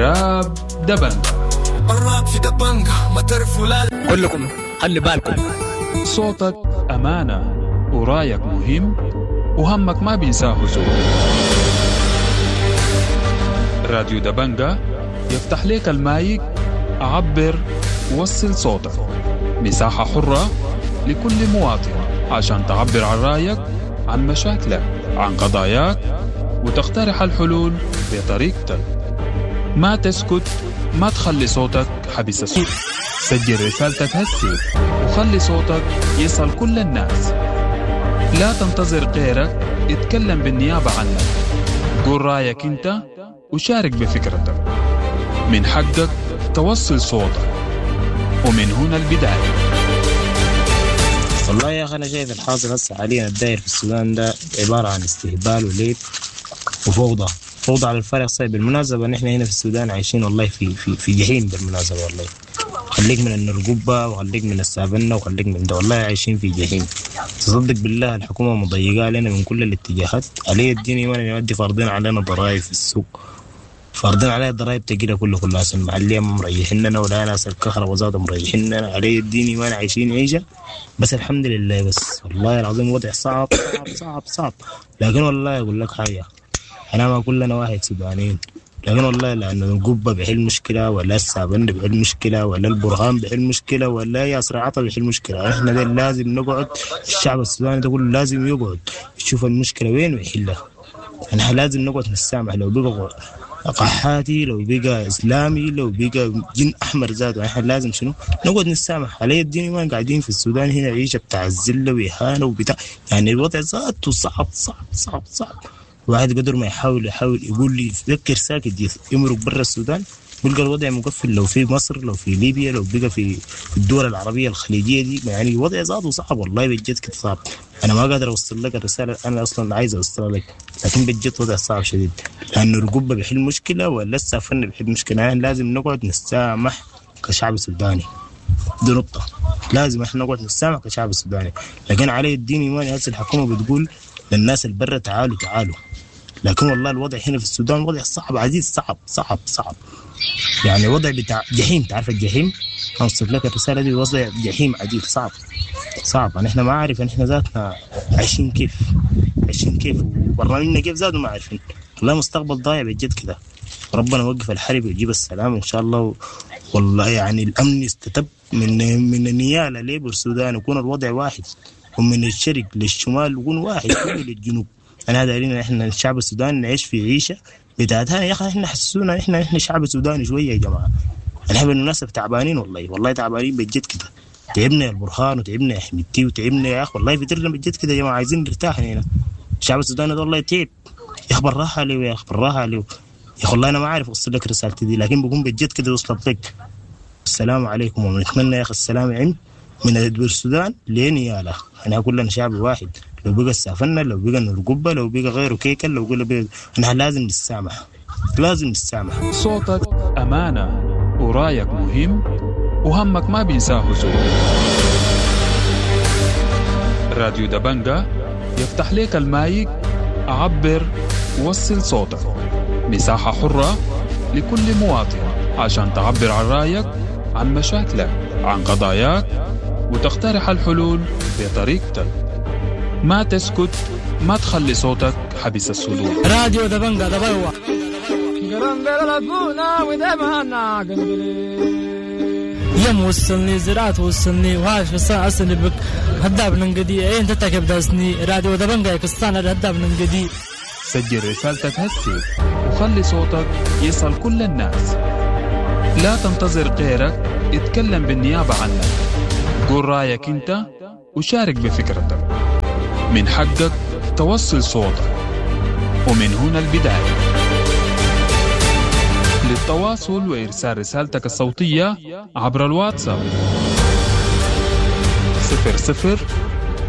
الراب دبنجة. الراب في دبنجة ما تعرفوا لا. كلكم خلي بالكم. صوتك أمانة ورايك مهم وهمك ما بينساه زول. راديو دبنجة يفتح لك المايك، عبر، وصل صوتك. مساحة حرة لكل مواطن عشان تعبر عن رأيك، عن مشاكلك، عن قضاياك، وتقترح الحلول بطريقتك. ما تسكت، ما تخلي صوتك حبس الصوت. سجل رسالتك هسي وخلي صوتك يصل كل الناس. لا تنتظر غيرك يتكلم بالنيابة عنك. قول رأيك انت وشارك بفكرتك. من حقك توصل صوتك، ومن هنا البداية. والله يا أخي أنا شايف الحاصل هسه حاليا الداير في السودان ده عبارة عن استهبال وليب وفوضى، فوضى على الفارغ. صايب بالمناسبة نحن هنا في السودان عايشين والله في في في جحيم بالمناسبة والله. خليك من النرقبة وخليك من السافنة وخليك من ده، والله عايشين في جحيم. تصدق بالله الحكومة مضيقة علينا من كل الاتجاهات. علي الدين إيمان يودي فارضين علينا ضرائب في السوق، فارضين علينا ضرائب تقيلة كله كل ناس المحلية مريحيننا ولا ناس الكهرباء ذاتها مريحيننا. علي الدين إيمان عايشين عيشة بس الحمد لله. بس والله العظيم وضع صعب صعب صعب صعب. لكن والله أقول لك حاجة، أنا ما كلنا واحد سودانيين، لكن والله لأنه القبة بحل مشكلة ولا السابن بحل مشكلة ولا البرهان بحل مشكلة ولا ياسر عطا بحل مشكلة. احنا ده لازم نقعد، الشعب السوداني ده كله لازم يقعد يشوف المشكلة وين ويحلها. احنا لازم نقعد نتسامح، لو بقى قحاتي لو بقى اسلامي لو بقى جن احمر ذاته، احنا لازم شنو نقعد نتسامح. علي الدين ما قاعدين في السودان هنا عيشه بتاع الذله واهانه وبتاع، يعني الوضع ذاته صعب صعب صعب صعب. واحد قدر ما يحاول يقول لي يفكر ساكت يمرق برا السودان بيلقى الوضع مقفل. لو في مصر لو في ليبيا لو بقى في الدول العربيه الخليجيه دي، يعني الوضع ذاته صعب والله بجد كده صعب. انا ما قادر اوصل لك الرساله انا اصلا عايز اوصلها لك، لكن بجد وضع صعب شديد. لانه القبه بيحل مشكله ولا السافرنا بيحل مشكله. يعني لازم نقعد نتسامح كشعب سوداني، دي نقطه. لازم احنا نقعد نتسامح كشعب سوداني. لكن علي الدين ايماني هسه الحكومه بتقول للناس البرة تعالوا تعالوا، لكن والله الوضع هنا في السودان وضع صعب عزيز، صعب صعب صعب، يعني وضع بتاع جحيم. تعرف الجحيم؟ اوصف لك الرساله دي، وضع جحيم عجيب صعب صعب. يعني احنا ما عارف احنا ذاتنا عايشين كيف، عايشين كيف وبرنامجنا كيف ذاته ما عارفين. والله مستقبل ضايع بجد كده. ربنا يوقف الحرب ويجيب السلام ان شاء الله. والله يعني الامن يستتب من نيالا ليبر السودان يكون الوضع واحد، ومن الشرق للشمال يكون واحد للجنوب. انا دايرين احنا الشعب السوداني نعيش في عيشه بتاعتها يا اخي. احنا حسونا احنا شعب سوداني شويه يا جماعه. احنا بالمناسبه تعبانين والله، والله تعبانين بجد كده. تعبنا يا البرهان وتعبنا يا حميدتي وتعبنا يا اخي والله، فترنا بجد كده يا جماعه. عايزين نرتاح هنا. الشعب السوداني ده والله تعب يا اخي، بالراحه عليه يا اخي، بالراحه عليه يا اخي. والله انا ما عارف اوصل لك رسالتي دي، لكن بقوم بجد كده وصلت لك. السلام عليكم، ونتمنى يا اخي السلام يعم من السودان لنيالا. احنا كلنا شعب واحد، لو بقى السافنة لو بقى القبة لو بقى غيره كيكل لو بقى، احنا لازم نتسامح، لازم نتسامح. صوتك أمانة ورايك مهم وهمك ما بينساه زول. راديو دبنجة يفتح لك المايك، عبر، وصل صوتك. مساحة حرة لكل مواطن عشان تعبر عن رأيك، عن مشاكلك، عن قضاياك، وتقترح الحلول بطريقتك. ما تسكت، ما تخلي صوتك حبس الصدور. راديو دبنجة دبلوة. يم وصلني زراعة وصلني وهاش بس أصلي بك هداب ننقدي إيه أنت تكب داسني. راديو دبنجة كستانا هداب ننقدي. سجل رسالتك هسي وخلي صوتك يصل كل الناس. لا تنتظر غيرك يتكلم بالنيابة عنك. قول رأيك انت وشارك بفكرتك. من حقك توصل صوتك، ومن هنا البداية. للتواصل وإرسال رسالتك الصوتية عبر الواتساب 00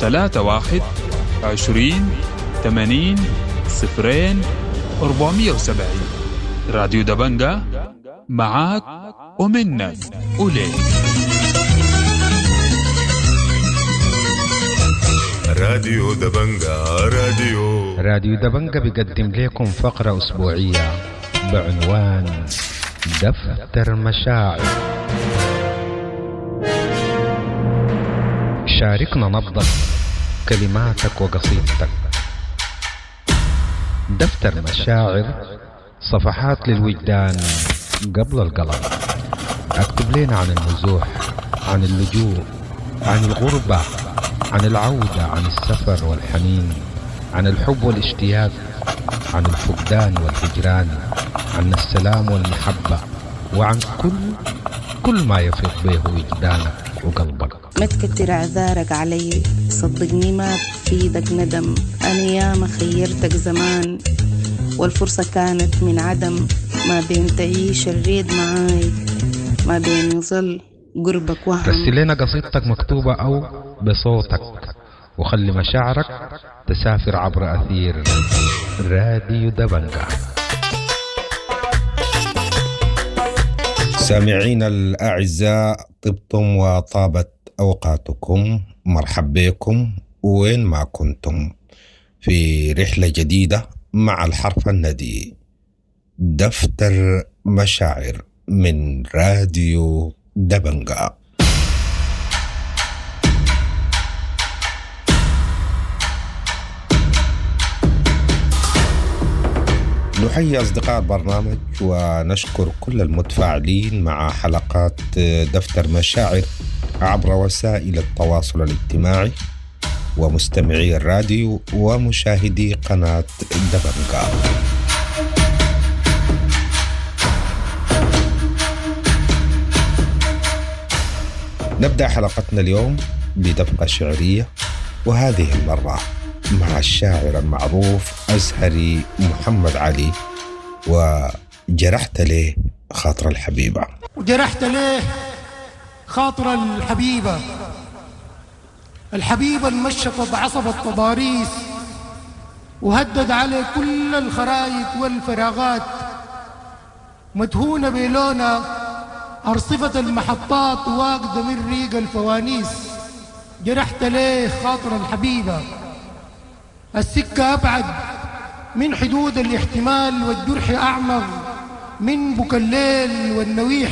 31 20 80 0 470. راديو دبنجة معاك ومنك وليك. راديو دبنجة، راديو دبنجة بيقدم لكم فقرة أسبوعية بعنوان دفتر مشاعر. شاركنا نبضك، كلماتك وقصيدتك. دفتر مشاعر، صفحات للوجدان قبل القلم. اكتب لنا عن النزوح، عن اللجوء، عن الغربة، عن العودة، عن السفر والحنين، عن الحب والاشتياق، عن الفقدان والهجران، عن السلام والمحبة، وعن كل ما يفيض به وجدانك وقلبك. ما تكتر اعذارك علي، صدقني ما بفيدك ندم. انا ياما خيرتك زمان والفرصة كانت من عدم. ما بين تعيش الريد معاي، ما بين يظل قربك وهم. رسل لنا قصيدتك مكتوبة أو بصوتك، وخلي مشاعرك تسافر عبر أثير راديو دبنجا. سامعين الأعزاء، طبتم وطابت أوقاتكم. مرحب بكم وين ما كنتم في رحلة جديدة مع الحرف الندي، دفتر مشاعر من راديو دبنجا. نحيي أصدقاء البرنامج ونشكر كل المتفاعلين مع حلقات دفتر مشاعر عبر وسائل التواصل الاجتماعي ومستمعي الراديو ومشاهدي قناة دبنجا. نبدأ حلقتنا اليوم بدفقة شعرية، وهذه المرة مع الشاعر المعروف أزهري محمد علي، وجرحت ليه خاطر الحبيبة. وجرحت ليه خاطر الحبيبة، الحبيبة المشطت عصب التضاريس وهدد على كل الخرايط والفراغات، مدهونة بلونها أرصفة المحطات واقدة من ريق الفوانيس. جرحت ليه خاطر الحبيبة، السكة أبعد من حدود الاحتمال والجرح أعمق من بكى الليل والنويح.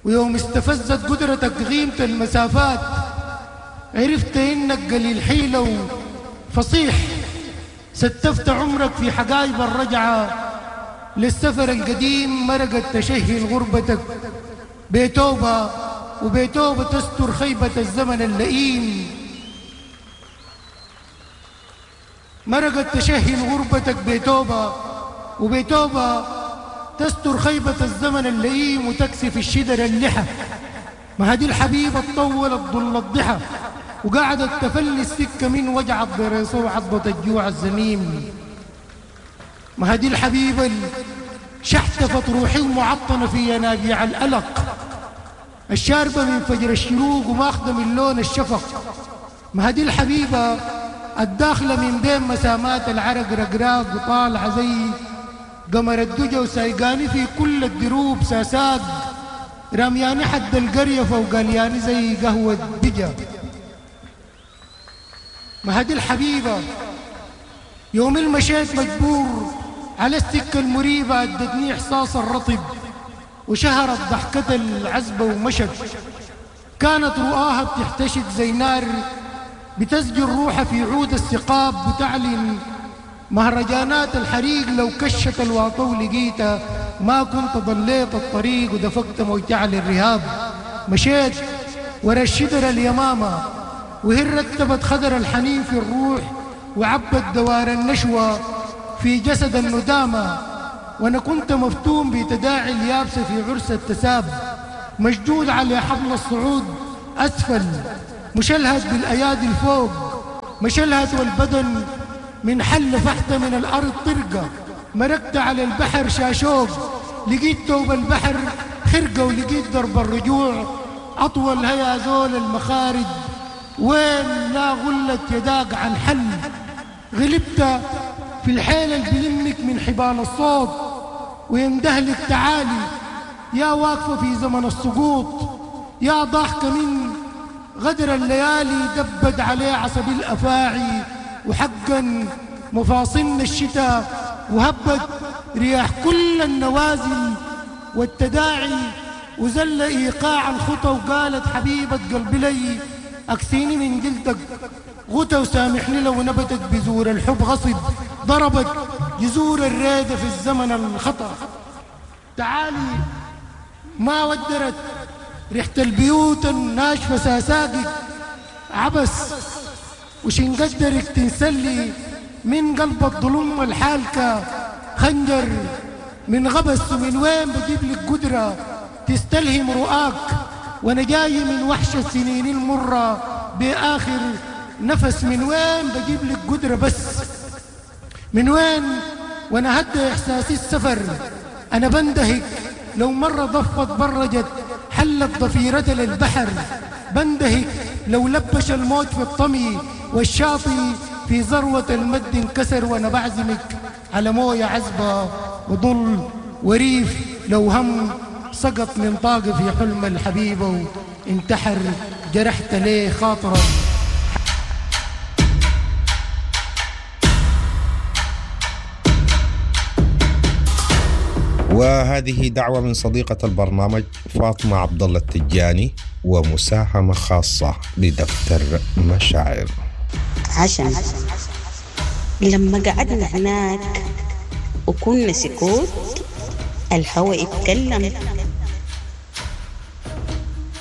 ويوم استفزت قدرتك غيمة المسافات عرفت إنك قليل حيلة وفصيح. ستفت عمرك في حقايب الرجعة للسفر القديم، مرقت تشهي غربتك بتوبة، وبتوبة تستر خيبة الزمن اللئيم. مرقت تشهي غربتك بتوبة، وبتوبة تستر خيبة الزمن اللئيم وتكسف الشدر اللحى. ما هدي الحبيبة تطولت ظل الضحى وقعدت تفلي السكة من وجع الضريصة وعضة الجوع الزميم. ما هدي الحبيبة شحتفت روحي ومعطنة في ينابيع الألق، الشاربة من فجر الشروق وماخذة من لون الشفق. ما هدي الحبيبة الداخلة من بين مسامات العرق رقراق وطالعة زي قمر الدجا وسايقاني في كل الدروب ساساق، رمياني حد القرية فوقالياني زي قهوة بجا. ما هدي الحبيبة يوم المشيت مجبور على السكة المريبة أدتني إحساس الرطب وشهرت ضحكة العزبة ومشت. كانت رؤاها بتحتشد زي نار بتسجل روحها في عود الثقاب وتعلن مهرجانات الحريق. لو كشت الواطو لقيتها ما كنت ضليت الطريق ودفقت موجع للرهاب. مشيت ورا الشدر اليمامة وهي رتبت خدر الحنين في الروح وعبت دوار النشوة في جسد الندامة. وأنا كنت مفتون بتداعي اليابسة في عرس التساب، مشدود على حبل الصعود أسفل، مشلهت بالأيادي الفوق، مشلهت والبدن من حل فحت من الأرض طرقة. مرقت على البحر شاشوق، لقيت توب البحر خرقة، ولقيت درب الرجوع أطول. هيا زول المخارج وين لا غلت يداك عن حل. غلبت في الحيل اللي بلمك من حبال الصوت ويندهلك تعالي، يا واقفة في زمن السقوط، يا ضاحكة من غدر الليالي. دبت عليه عصب الأفاعي وحقا مفاصلنا الشتاء، وهبت رياح كل النوازل والتداعي وزل إيقاع الخطى وقالت حبيبة قلبي لي أكسيني من جلدك غتى وسامحني لو نبتت بذور الحب غصب ضربت جذور الريدة في الزمن الخطأ. تعالي ما ودرت ريحة البيوت الناشفة ساساقك عبس وشن قدرك تنسلي من قلب الظلم الحالكة خنجر من غبس، ومن وين بجيب لك قدرة تستلهم رؤاك وانا جاي من وحش السنين المرة بآخر نفس، من وين بجيب لك قدرة بس من وين وانا هدى احساسي السفر انا بندهك لو مرة ضفت برجت حلت ضفيرة للبحر، بندهك لو لبش الموت في الطمي والشاطئ في ذروة المد انكسر، وانا بعزمك على موية عذبة وضل وريف لو هم سقط من طاقة في حلم الحبيبة وانتحر، جرحت ليه خاطرة. وهذه دعوة من صديقة البرنامج فاطمة عبد الله التجاني ومساهمة خاصة لدفتر مشاعر. عشان لما قعدنا هناك وكنا سكوت الهواء اتكلم،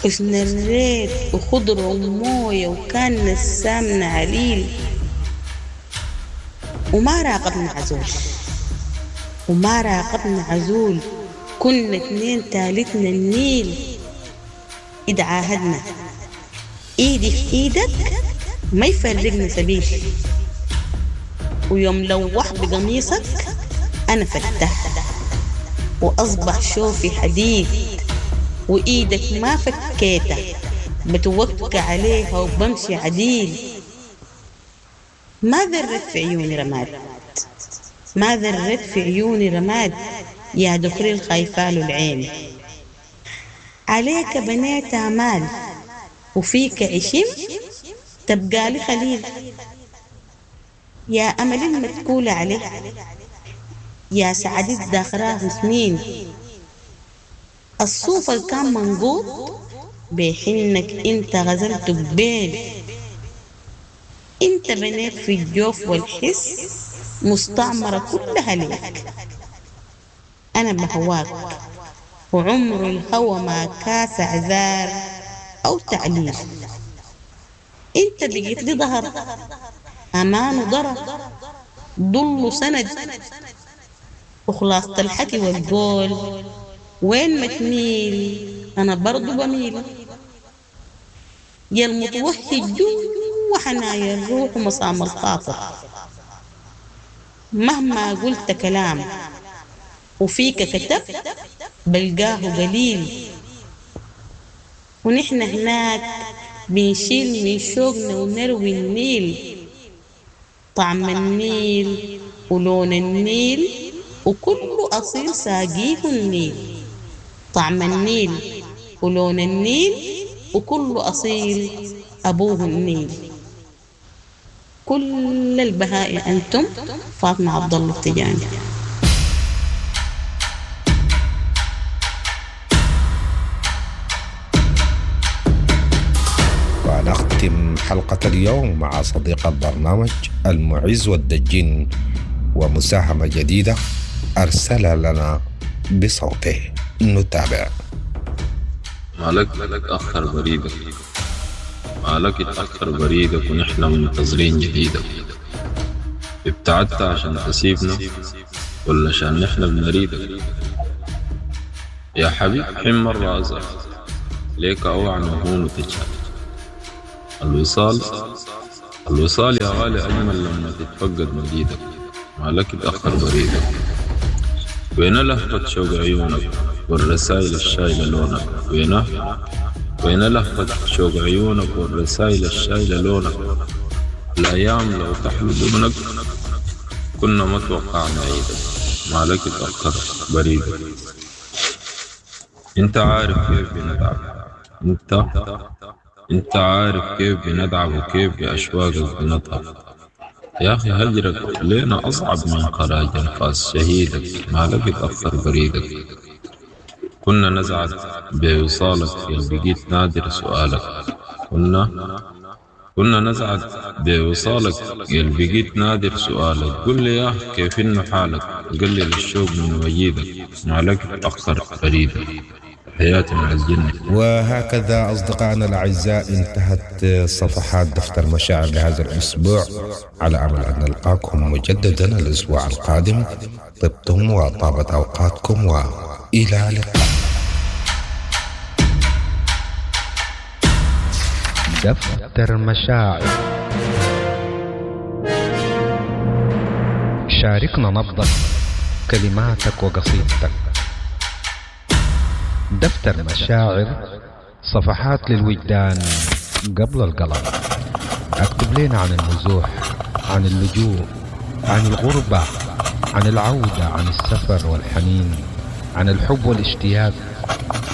حسن الريت وخضرة وموية وكان نسامنا عليل، وما راقبنا عزول وما راقبنا عزول، كنا اتنين تالتنا النيل. إذا عاهدنا ايدي في ايدك ما يفرقنا سبيل، ويوم لوح بقميصك أنا فتحت وأصبح شوفي حديد، وإيدك ما فكيته بتوكى عليها وبمشي عديل. ما ذرت في عيوني رماد، ما ذرت في عيوني رماد، يا دخري الخايفاله العين. عليك بنيت آمال وفيك عشم تبقى لي خليل، يا أمل المتكولة عليه يا سعدي الداخراه سنين. الصوف اللي كان منقوط بحنك انت غزلته ببين، انت بنيت في الجوف والحس مستعمرة كلها ليك. أنا بهواك وعمر الهوى ما كاس عذار أو تعليل، انت بقيت لي ظهر أمان وضرر ضل سند، وخلاصة الحكي والقول وين ما تميل أنا برضو بميل. يا المتوهج جوا حنايا الروح ومصام الخاطر، مهما قلت كلام وفيك كتبت بلقاه قليل. ونحن هناك بنشيل من شوقنا ونروي النيل، طعم النيل ولون النيل وكل أصيل ساقيه النيل، طعم النيل ولون النيل وكل أصيل أبوه النيل. كل البهاء أنتم. فاطمة عبد الله التجاني. ونختم حلقة اليوم مع صديق البرنامج المعز والدجين ومساهمة جديدة أرسل لنا بصوته، نتابع. مالك تأخر بريدك، مالك تأخر بريدك ونحن منتظرين جديدك. ابتعدت عشان تسيبنا ولا عشان نحن بنريدك؟ يا حبيب حين مرة أزعل ليك أوعى مهون وتجهل. الوصال الوصال يا غالي أجمل لما تتفقد مجيدك. مالك تأخر بريدك، وين لهفة شوق عيونك والرسائل الشايلة لونك؟ وين لهفة شوق عيونك والرسائل الشايلة لونك؟ الأيام لو تحلو دونك كنا ما توقعنا عيدك. مالك تأخر بريدك. انت عارف كيف بنتعب، انت عارف كيف بندعب وكيف بأشواقك بنضعف. يا أخي هجرك لينا أصعب من خراج أنفاس شهيدك. مالك تأخر بريدك. كنا نسعد بوصالك يا بقيت نادر سؤالك. كنا نسعد بوصالك يا بقيت نادر سؤالك. قل لي يا كيف إنه حالك، قلل الشوق من وجيدك، مالك تأخر فريدك. تحياتي مع الجنة. وهكذا أصدقائنا الأعزاء انتهت صفحات دفتر مشاعر لهذا الأسبوع، على أمل أن نلقاكم مجددا الأسبوع القادم. طبتم وطابت أوقاتكم، وإلى اللقاء. دفتر مشاعر، شاركنا نبضك، كلماتك وقصيدتك. دفتر مشاعر، صفحات للوجدان قبل القلم. اكتب لنا عن النزوح، عن اللجوء، عن الغربة، عن العودة، عن السفر والحنين، عن الحب والاشتياق،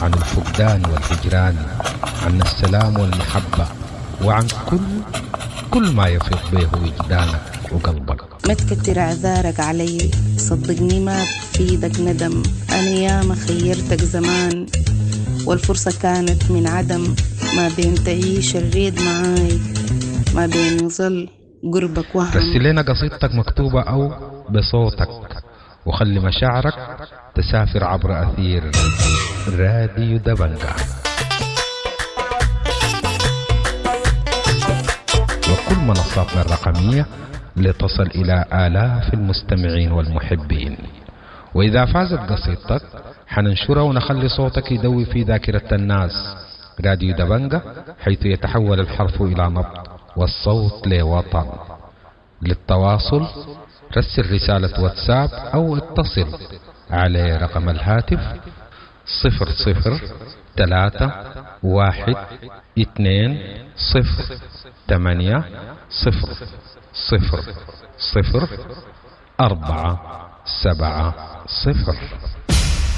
عن الفقدان والهجران، عن السلام والمحبة، وعن كل ما يفيض به وجدانك وقلبك. ما تكتر اعذارك علي، صدقني ما بفيدك ندم. انا ياما خيرتك زمان والفرصة كانت من عدم. ما بين تعيش الريد معاي، ما بين يظل قربك وهم. رسل لنا قصيدتك مكتوبة أو بصوتك، وخلي مشاعرك تسافر عبر أثير راديو دبنجا وكل منصاتنا الرقمية لتصل إلى آلاف المستمعين والمحبين. وإذا فازت قصيدتك حننشرها ونخلي صوتك يدوي في ذاكرة الناس. راديو دبنجا، حيث يتحول الحرف إلى نبض والصوت لوطن. للتواصل رسل رسالة واتساب أو اتصل على رقم الهاتف 0 0 3 1 2 0 8 0 0 0 4 7 0.